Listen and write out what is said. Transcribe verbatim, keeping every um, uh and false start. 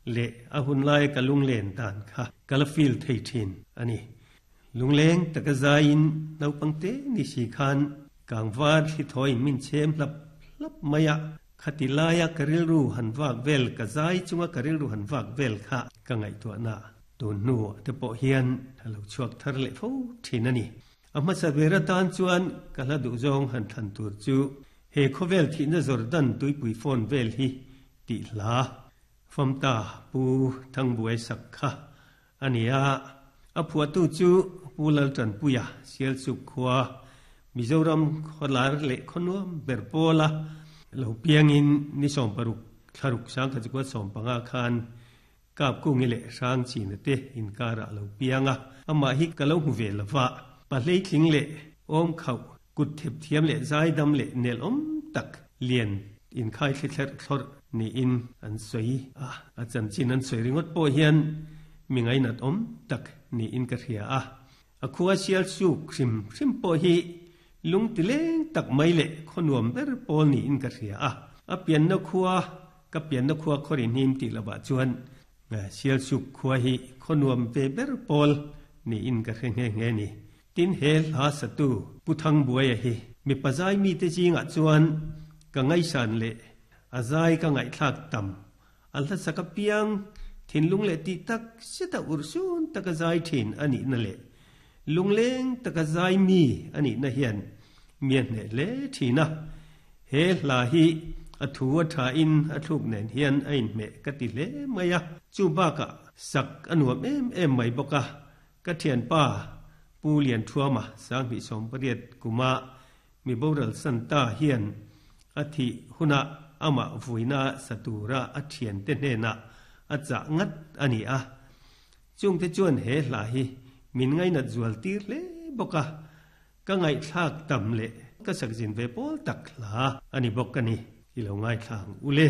Le a hun lai ka lunglen dan kha ka la feel thei thin ani. Lungleng taka zaiin naupang te ni si khan kangvar thli thawiin min chhem hlap hlap mai a. Khati laia ka rilru han vak vel ka zai chunga ka rilru han vak vel kha ka ngaihtuahna tun hnu te pawh hian a lo chhuak thar leh fo thin a ni. A hmasa ber atan chuan ka hla duhzawng han thlan tur chu he khawvel thihna Jordan tuipui phone vel hi tih hla famta Pu Thangbuai sak kha a ni a. A phuahtu chu Pu Laltanpuia Sialsuk khua Mizoram khawlar leh khawnuam ber pawla lo piangin ni sawm paruk thlaruk sangkhat chukua sawm panga khan kap kungi leh hrang china te inkara lo pianga. Amah hi ka lo hmu ve lova pahlei thling leh awm khauh kut thep thiam leh zai dam leh nel awm tak lian in khai thli thler thlawr niin an sawi a. A chanchin an sawi ringawt pawh hian mi ngainat awm tak niin ka hria a. A khua sial suk hrim hrim pawh hi lung ti leng tak mai leh khawnuam ber pawl niin ka hria a. A pianna khua ka pianna khua khawrin hnim tih lovah chuan sial suk khua hi khawnuam ve ber pawl niin ka hre nghe nghe ni. Tin he hla satu Pu Thangbuaia hi mi pazai mi te zingah chuan ka ngaisan leh a zai ka ngaihthlak tam a hla sak apiang thinlung leh tih tak seta urhsun taka zai thin anih na leh lungleng taka zai mi anih na hian mi a hneh hle thin a. He hla hi a thu a tha in a thluk nen hian a inhmeh ka ti hle mai a. Chu bakah sak a nuam em em mai bawk a. Ka thianpa Pu Lian Thuama sanghnih sawm pariat kuma mi boral santa hian a thi huna amah vuina satura a thian te hnena a chah ngat ani a. Chung te chuan he hla hi min ngainat zual tir hle bawk a. Ka ngaihthlak tam leh ka sakzin ve pawl tak hla ani bawk ani. I lo ngaithlang ule.